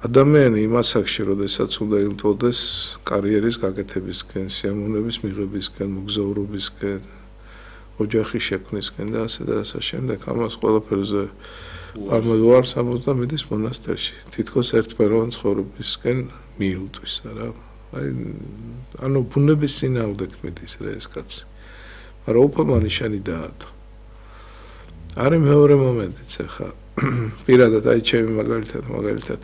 ადამიანი იმ ასაკში, როდესაც უნდა ილტოდეს კარიერის გაკეთებისკენ, სიამოვნების მიღებისკენ, მოგზაურობისკენ, ოჯახის შექმნისკენ და ასე და ასე შემდეგ, ამას ყველაფერზე ამოუარს ამბობს მიდის მონასტერში. თითქოს ერთმეროვან ცხოვრებისკენ მიუვლის რა. ანუ ბუნების წინააღმდეგ მიდის რა ეს კაცი. მაგრამ უფალმა ნიშანი დაადო. არის მეორე მომენტიც ახლა. პირადად აი ჩემი მაგალითად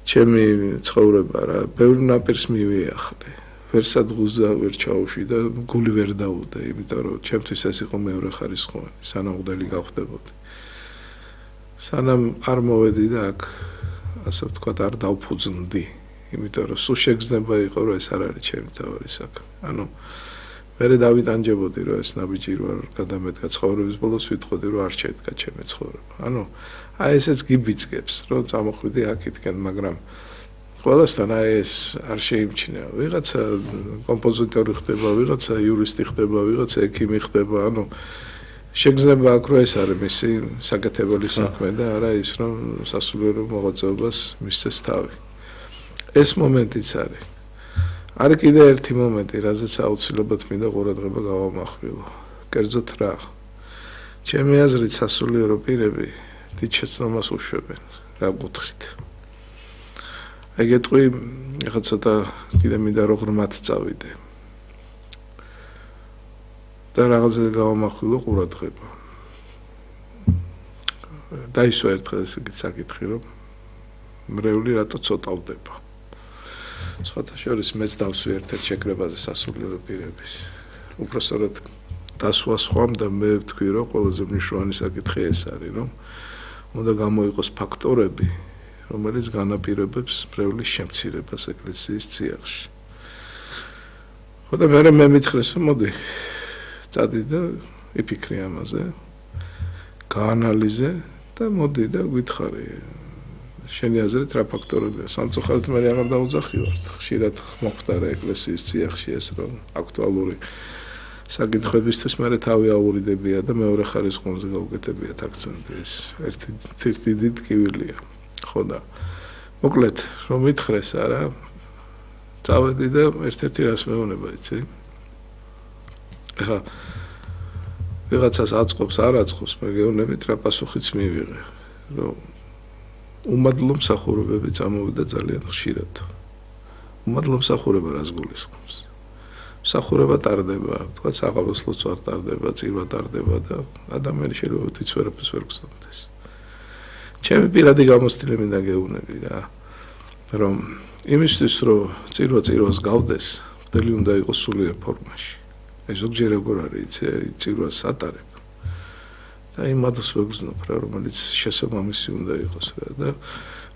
ჩემი ცხოვრება რა, ბევრ ნაპირს მივიახლე. ვერ სადღუზა ვერ ჩაუშვი და გული ვერ დაუდე, იმიტომ რომ ჩემთვის ეს იყო მეორე ხარისხოვანი, სანამ მღვდელი გავხდებოდი. სანამ არ მოვედი და აქ ასე ვთქვათ არ დავფუძნდი, იმიტომ რომ სულ შეგრძნება იყო რომ ეს არ არის ჩემი თავი საქმე. ანუ მე დავიტანჯებოდი რომ ეს ნაბიჯი რო არ გადამედგა ცხოვრების ბოლოს ვიტყოდი რომ არ შედგა ჩემი ცხოვრება. ანუ აი ესეც გიბიძგებს რომ წამოხვიდი აქეთკენ, მაგრამ ყველასთან აი ეს არ შეიმჩნევა. ვიღაცა კომპოზიტორი ხდება, ვიღაცა იურისტი ხდება, ვიღაცა ექიმი ხდება, ანუ შეგრძნება აქ რომ ეს არის მისი საკეთებელი საქმე და არა ის რომ სასულიერო მოღვაწეობას მისცეს თავი. ეს მომენტიც არის. არის კიდე ერთი მომენტი, რაზეც აუცილებლად მინდა ყურადღება გავამახვილო. კერძოდ რა. ჩემი აზრით სასულიერო პირები დიდ შეცდომას უშვებენ რა კუთხით. ეგეთყვი ეხლა ცოტა კიდე მინდა რომ ღრმად წავიდე. და რაღაცა გავამახვილო ყურადღება. დაისვა ერთხელ ესეთი საკითხი რომ მრევლი რატო ცოტავდება. სხვათა შორის მეც დავსვი ერთ-ერთ შეკრებაზე სასულიერო პირების. უпроსტად დასვა სხვამ და მე ვთქვი რომ ყველაზე მნიშვნელოვანი საკითხი ეს არის რომ უნდა გამოიყოს ფაქტორები რომელიც განაპირობებს მრევლის შემცირებას ეკლესიის წიაღში. ხო და მე მითხრეს რომ მოდი წადი და იფიქრე ამაზე, გაანალიზე და მოდი და გითხარი შენი აზრით რა ფაქტორებია. სამწუხაროდ მე აღარ დაუძახივართ. ხშირად მოხდარა ეკლესიის წიაღში ეს რომ აქტუალური საკითხებისთვის მე თავი აურიდებია და მეორე ხარისხოვანზე გავუკეთებიათ აქცენტი. ეს ერთი დიდი ტკივილია. ხო და მოკლედ რომ მითხრეს არა წავედი და ერთ-ერთი რას მეუბნება იცი ახლა ვიღაცას აწყობს არ აწყობს მე გეუბნებით რა პასუხიც მივიღე რომ უმადლო მსახურებები წამოვიდა ძალიან ხშირად უმადლო მსახურება რას გულისხმობს მსახურება ტარდება თქვა საღამოსლოც არ ტარდება წირვა ტარდება და ადამიანი შეიძლება თიც ვერაფერს ვერ გწნობდეს ჩემი პირადი გამოცდილება მინდა გეუბნები რა რომ იმისთვის რომ წირვას გავდეს მღვდელი უნდა იყოს სულიერ ფორმაში ეს ზოგჯერ როგორ არის წირვას ატარებ და იმადოს ვეგრძნობ რა რომელიც შესაბამისი უნდა იყოს რა და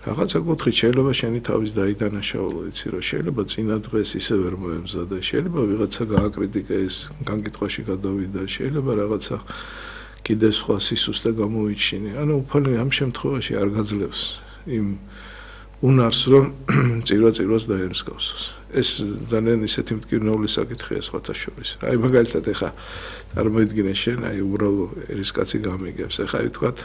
რაღაცა კუთხით შეიძლება შენი თავის დაიდანაშაულო იცი რომ შეიძლება წინა დღეს ისე ვერ მოემზადე შეიძლება ვიღაცა გააკრიტიკა ეს განკითხვაში გადავიდა შეიძლება რაღაცა კიდე სხვა სისუსტე გამოიჩინე ანუ უფალი ამ შემთხვევაში არ გაძლევს იმ უნარს რომ წირვას დაემსგავსოს ეს ძალიან ისეთი მტკივნეული საკითხია სხვათა შორის რა აი მაგალითად ეხა წარმოიდგინე შენ აი უბრალო ერისკაცი გამიგებს ეხა ვთქვათ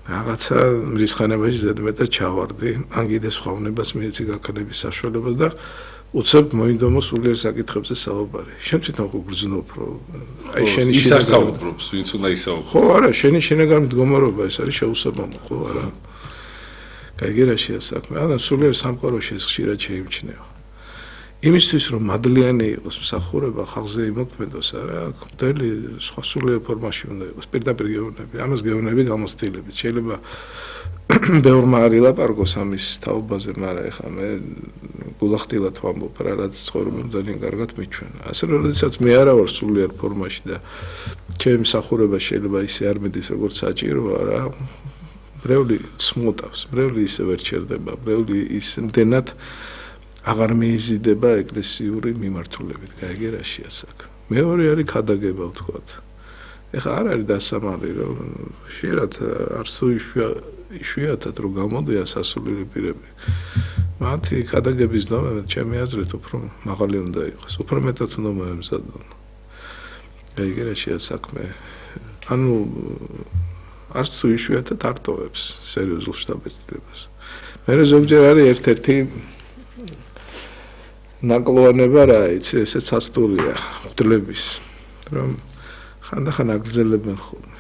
რაღაცა მრისხანებაში ზედმეტად ჩავარდი ან კიდე სხვა უნებას მიეცი გაქნების საშუალებას და უცებ მოინდომო სულიერ საკითხებზე საუბარი. შენ თვითონ ხო გრძნობ რომ აი შენი ისაუბრობს, ვინც უნდა ისაუბროს. ხო, არა, შენი შინაგანი მდგომარეობა ეს არის შეუსაბამო, ხო, არა. გაიგერაშია საქმე. ანუ სულიერ სამყაროში ეს ხშირად შეიმჩნევა. იმისთვის რომ მადლიანი იყოს მსახურება ხალხზე იმოქმედოს, არა, მღვდელი სხვა სულიერ ფორმაში უნდა იყოს. პირდაპირ გეუბნები, ამას გეუბნები გამოცდილებით. შეიძლება ბევრმა არ ილაპარაკოს ამის თაობაზე, მაგრამ ეხლა მე გულახდილად ვამბობ რა რაც ცხოვრობამ ძალიან კარგად მიჩვენა. ასე რომ როდესაც მე არა ვარ სულიერ ფორმაში და ჩემი მსახურება შეიძლება ისე არ მიდის როგორც საჭიროა რა. მრევლი ცმუტავს, მრევლი ისე ვერ ჩერდება, მრევლი ისე მდენად აღარ მიიზიდება ეკლესიური მიმართულებით, გაიგერაშია საქმე. მეორე არის ქადაგება ვთქვათ. ეხლა არ არის დასამალი რომ შეიძლება არც თუ იშვიათად რომ გამოდიან სასულიერო პირები. მათი ქადაგების დონე ჩემი აზრით უფრო მაღალი უნდა იყოს, უფრო მეტად უნდა მოემზადონ. გაიგერაშია საქმე. ანუ არც თუ იშვიათად არ ტოვებს სერიოზულ შთაბეჭდილებას. მე ზოგჯერ არის ერთ-ერთი ნაკლოვანება რა იცი, ესეც ასტულია ღვთლების, რომ ხანდახან აგრძელებენ ხოლმე.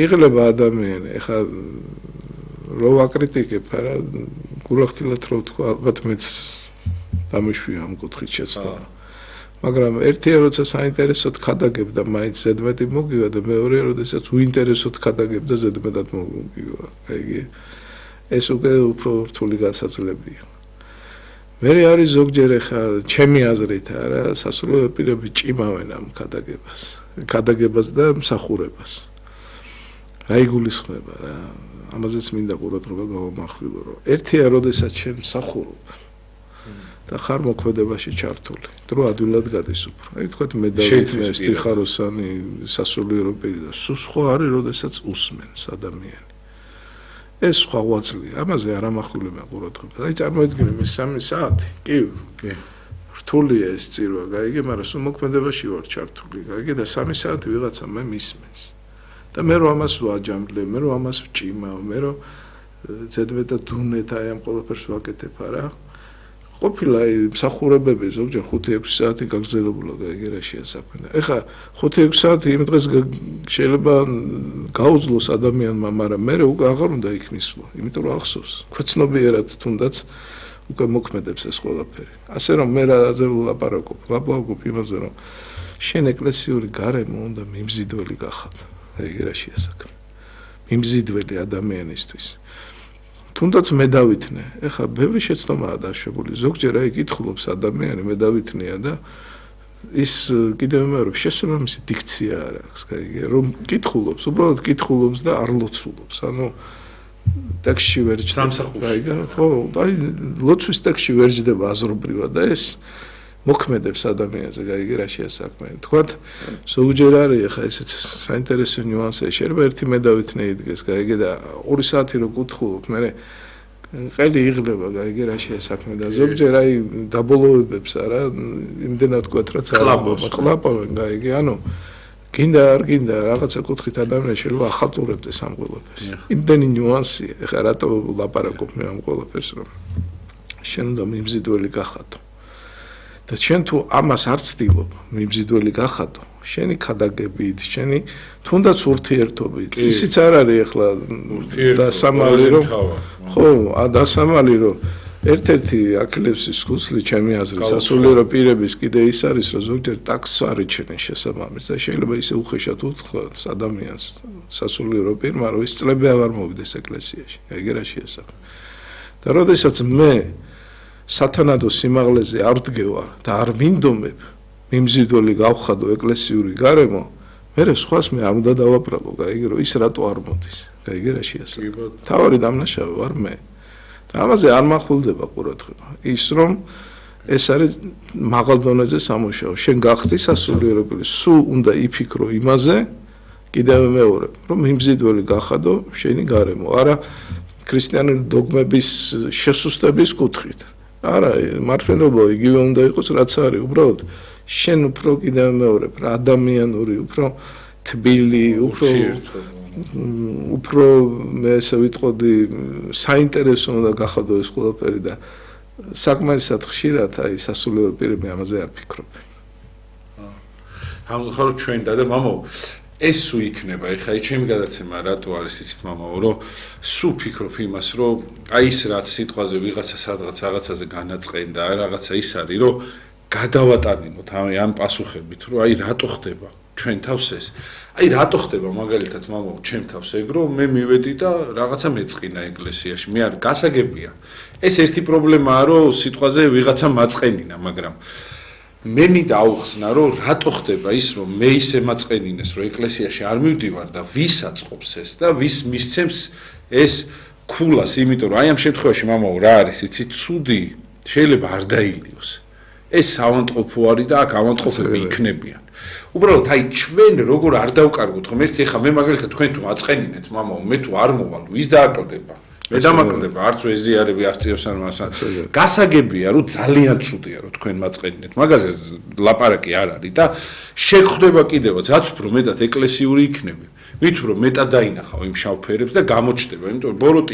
იღლება ადამიანი, ეხლა რო ვაკრიტიკებ, არა, გულახდილად რო ვთქვა, ალბათ მეც დამიშვია ამ კუთხით შეცდომა. მაგრამ ერთია როცა საინტერესოდ ხადაგებ და მაინც ზედმეტი მოგივა და მეორეა როდესაც უინტერესოდ ხადაგებ და ზედმეტად მოგივა. აიგე ეს უკვე უფრო რთული გასაძლებია. მე არის ზოგჯერ ხა ჩემი აზრით არა სასულიერო პირები ჭიმავენ ამ ხადაგებას და მსახურებას. რა იგულისხმება რა ამაზეც მინდა ყურადღება გავამახვილო რომ ერთია როდესაც შენ მსახურობ და ხარ მოქმედებაში ჩართული. დრო ადვილად გადის უფრო. აი თქვათ მე დავით მე სტიხაროსანი სასულიერო პირი და სულ სხვა არის როდესაც უსმენს ადამიანი. ეს სხვა ღვაწლია. ამაზე არ ამახვილებენ ყურადღებას. აი წარმოიდგინე მე 3 საათი. კი. რთულია ეს წირვა, გაიგე, მაგრამ სულ მოქმედებაში ვარ ჩართული. გაიგე და 3 საათი ვიღაცა მე მისმენს. და მე რომ ამას ვაჯამბლე, მე რომ ამას ვჭიმავ, მე რომ ზედმეტად დუნეთ აი ამ ყველაფერს ვაკეთებ არა. ყოფილა აი მსახურებები ზოგჯერ 5-6 საათი გაგრძელებულა გაიგე რა შეასაქმე. ეხლა 5-6 საათი იმ დღეს შეიძლება გაუძლოს ადამიანმა, მაგრამ მე უკვე აღარ უნდა იქ მისვლა, იმიტომ რომ ახსოვს. ქვეცნობიერად თუნდაც უკვე მოქმედებს ეს ყველაფერი. ასე რომ მე რაზე ვლაპარაკობ იმაზე რომ შენ ეკლესიური გარემო უნდა მიმზიდველი გახადო. აიგე რა შეასაქმე. მიმზიდველი ადამიანისთვის. თუნდაც მე დავითნე. ეხლა ბევრი შეცდომაა დაშვებული. ზოგჯერ აი კითხულობს ადამიანი, მე დავითნია და ის კიდევ იმეორებს შესაბამისი დიქცია არ აქვს, გაიგე, რომ კითხულობს, უბრალოდ კითხულობს და არ ლოცულობს. ანუ ტექსტში ვერ ჯდება, გაიგე? ხო, აი ლოცვის ტექსტში ვერ ჯდება აზრობრივად და ეს მოქმედებს ადამიანზე, გაიგე რა შეასაქმე. თქვათ, ზოგჯერ არის ახლა ესეც საინტერესო ნიუანსია, შეიძლება ერთი მე დავითნე იდგეს, გაიგე და 2 საათი რო კითხულობ, მე ყელი იღლება, გაიგე რა შეასაქმე და ზოგჯერ აი დაბოლოებებს არა, იმდენად თქვათ რაც ყლაპავენ, გაიგე, ანუ გინდა არ გინდა რაღაცა კუთხით ადამიანი შეიძლება ახალტურებდეს ამ ყველაფერს. იმდენი ნიუანსია, ახლა რატო ვლაპარაკობ მე ამ ყველაფერს, რომ შენ უნდა მიმზიდველი გახადო. და შენ თუ ამას არ ცდილობ, მიმზიდველი გახადო, შენი ხადაგებით, შენი თუნდაც ურთიერთობით. ისიც არ არის ახლა დასამალი რომ ხო, დასამალი რომ ერთ-ერთი აქლევსის ხუსლი ჩემი აზრით სასულიერო პირების კიდე ის არის, რომ ზოგჯერ ტაქსს არიჩენენ შესაბამის და შეიძლება ისე უხეშად უთხრას ადამიანს სასულიერო პირმა, რომ ის წლები აღარ მოვიდეს ეკლესიაში. ეგ რა შეასაქმე. და როდესაც მე სათანადო სიმაღლეზე არ ვდგევარ და არ მინდომებ მიმზიდველი გავხადო ეკლესიური გარემო, მე სხვას მე არ უნდა დავაბრალო, გაიგე რომ ის რატო არ მოდის, გაიგე რა შეასაქმე. თავარი დამნაშავე ვარ მე. და ამაზე არ მახვილდება ყურადღება. ის რომ ეს არის მაღალ დონეზე სამუშაო. შენ გახდი სასულიერო პირი, სულ უნდა იფიქრო იმაზე, კიდევ მეორე, რომ მიმზიდველი გახადო შენი გარემო, არა ქრისტიანული დოგმების შესუსტების კუთხით. არა, მართლობა იგივე უნდა იყოს, რაც არის, უბრალოდ შენ უფრო კიდევ მეორე, ადამიანური, უფრო თბილი, უფრო მე ესე ვიტყოდი, საინტერესო უნდა გახადო ეს ყველაფერი და საკმარისად ხშირად აი სასულიერო პირები ამაზე არ ფიქრობენ. ახლა ჩვენ და მამო ეს სულ იქნება, ეხლა ჩემი გადაცემა რატო არის იცით მამაო, რომ სულ ფიქრობ იმას, რომ აი ის რაც სიტყვაზე ვიღაცა სადღაც რაღაცაზე განაწყენდა, რაღაცა ის არის, რომ გადავატანინოთ ამ პასუხებით, რომ აი რატო ხდება ჩვენ თავს ეს. აი რატო ხდება მაგალითად მამაო ჩემ თავს ეგ, რომ მე მივედი და რაღაცა მეწყინა ეკლესიაში, მე არ გასაგებია. ეს ერთი პრობლემაა, რომ სიტყვაზე ვიღაცა მაწყენინა, მაგრამ მე მინდა აუხსნა, რომ რატო ხდება ის, რომ მე ისე მაწყენინეს, რომ ეკლესიაში არ მივდივარ და ვის აწყობს ეს და ვის მისცემს ეს ქულას, იმიტომ რომ აი ამ შემთხვევაში მამაო რა არის, იცით, ცუდი შეიძლება არ დაილიოს. ეს ავანტყოფო არის და აქ ავანტყოფები იქნებიან. უბრალოდ აი ჩვენ როგორ არ დავკარგოთ ხომ ერთი ხა მე მაგალითად თქვენ თუ აწყენინეთ მამაო, მე თუ არ მოვალ, ვის დააკლდება? მე დამაკლდება, არც ვეზიარები, არც წიოსან მასა. გასაგებია, რომ ძალიან ცუდია, რომ თქვენ მაწყენინეთ. მაგაზე ლაპარაკი არ არის და შეგხვდება კიდევაც, რაც უფრო მეტად ეკლესიური იქნები. მით უფრო მეტად დაინახავ იმ შავფერებს და გამოჩნდება, იმიტომ რომ ბოროტი